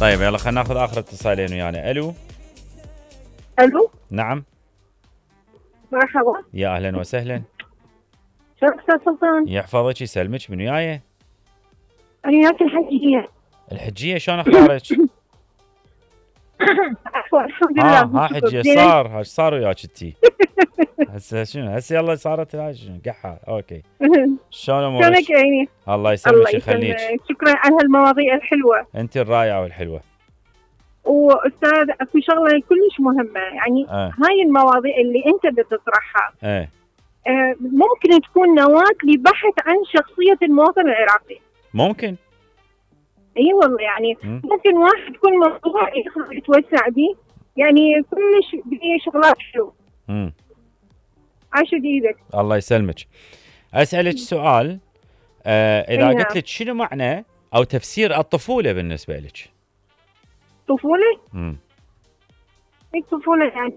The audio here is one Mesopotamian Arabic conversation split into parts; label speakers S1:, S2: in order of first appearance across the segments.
S1: طيب يلا خلينا ناخذ اخر اتصالين ويانا. الو.
S2: الو.
S1: نعم.
S2: مرحبا.
S1: يا اهلا وسهلا.
S2: شلونك استاذ سلطان؟
S1: يحفظك يسلمك. من وياي؟
S2: انا وياك الحجية.
S1: الحجية شلون اخبارك؟
S2: عفوا الحمد لله.
S1: ها حجية صار وياك انتي؟ هسه شنو؟ هسه يلا صارت هاي شنو قحة. اوكي. شلون امورك؟
S2: شلونك عيني؟
S1: الله يسلمك ويخليك.
S2: شكرا على هالمواضيع الحلوة.
S1: انت الرائعة والحلوة.
S2: واستاذ في شغلة كلش مهمة يعني هاي المواضيع اللي انت بتطرحها ممكن تكون نواة لبحث عن شخصية المواطن العراقي.
S1: ممكن.
S2: اي والله يعني ممكن واحد يكون موضوع يتوسع به يعني كلش بيه شغلات حلوة. عاش ايدك.
S1: الله يسلمك. اسالك سؤال. اذا قلت لك شنو معنى او تفسير الطفولة بالنسبة لك؟
S2: طفولة؟ الطفولة يعني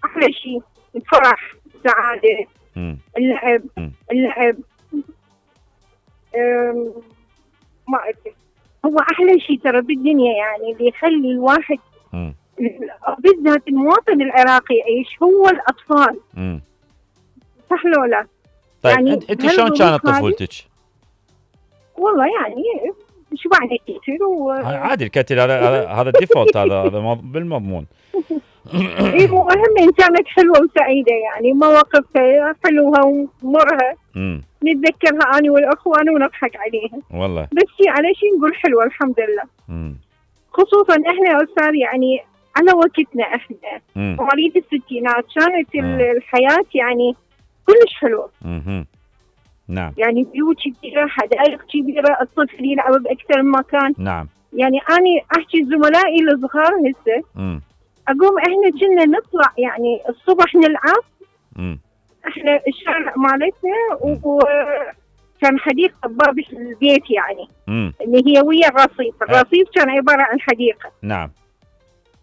S2: احلى شيء الفرح، السعادة، اللعب ما ادري. هو احلى شيء ترى بالدنيا يعني اللي يخلي الواحد بالذات المواطن العراقي يعيش هو الاطفال. صح لو لا؟
S1: طيب يعني انت شلون كانت طفولتك؟
S2: والله يعني شبعنا كتير
S1: عادي الكتل هذا الديفولت هذا بالمضمون.
S2: ايه المهم كانت حلوه وسعيده يعني مواقفها حلوه ومرها نتذكرها انا والاخوان ونضحك عليها
S1: والله.
S2: بس على شيء نقول حلوه الحمد لله. خصوصا احنا يا استاذ يعني على وقتنا احنا مواليد الستينات كانت الحياه يعني كلش حلوه.
S1: نعم.
S2: يعني بيوت كبيره، حدائق كبيره، الطفل يلعب باكثر من مكان.
S1: نعم.
S2: يعني انا احكي زملائي الصغار هسه اقوم احنا كنا نطلع يعني الصبح نلعب. احنا الشارع مالتنا وكان حديقه بباب البيت يعني اللي هي ويا الرصيف كان عباره عن حديقه.
S1: نعم.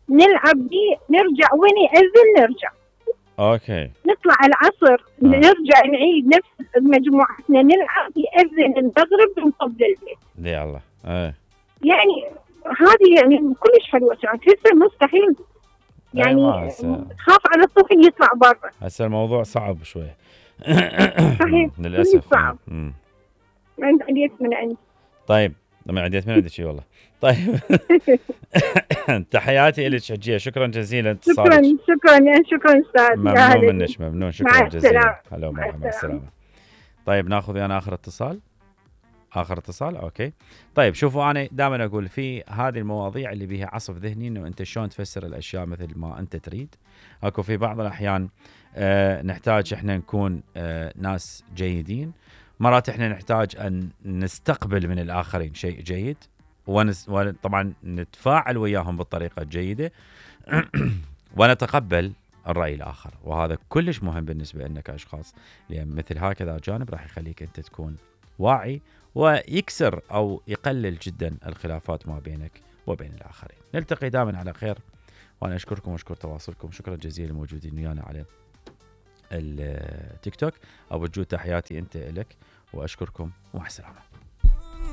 S2: نلعب بيه نرجع وين يأذن نرجع.
S1: اوكي.
S2: نطلع العصر نرجع نعيد نفس مجموعتنا نلعب يأذن المغرب ونطب للبيت.
S1: يا الله.
S2: يعني هذه يعني كلش حلوه كانت. هسه مستحيل يعني خاف على الطفل يطلع برا.
S1: هسه الموضوع صعب شوي.
S2: صحيح.
S1: للاسف
S2: صعب. انت عديت من عندي.
S1: طيب لما عديت من عندك والله. طيب. تحياتي لك حجية. شكرا جزيلا اتصالك.
S2: شكرا استاذ.
S1: ممنون منك ممنون. شكرا جزيلا. هلا
S2: مع
S1: السلامة. طيب ناخذ انا اخر اتصال. اوكي. طيب شوفوا انا دائما اقول في هذه المواضيع اللي بيها عصف ذهني انه انت شلون تفسر الاشياء مثل ما انت تريد. اكو في بعض الاحيان نحتاج احنا نكون ناس جيدين. مرات احنا نحتاج ان نستقبل من الاخرين شيء جيد وطبعا نتفاعل وياهم بالطريقة الجيدة ونتقبل الرأي الآخر. وهذا كلش مهم بالنسبة لنا كأشخاص لأن مثل هكذا جانب راح يخليك أنت تكون واعي ويكسر أو يقلل جدا الخلافات ما بينك وبين الآخرين. نلتقي دائما على خير وأنا أشكركم وأشكر تواصلكم. شكرا جزيلا موجودين ويانا على التيك توك. أبو جود تحياتي أنت إلك وأشكركم ومع السلامة.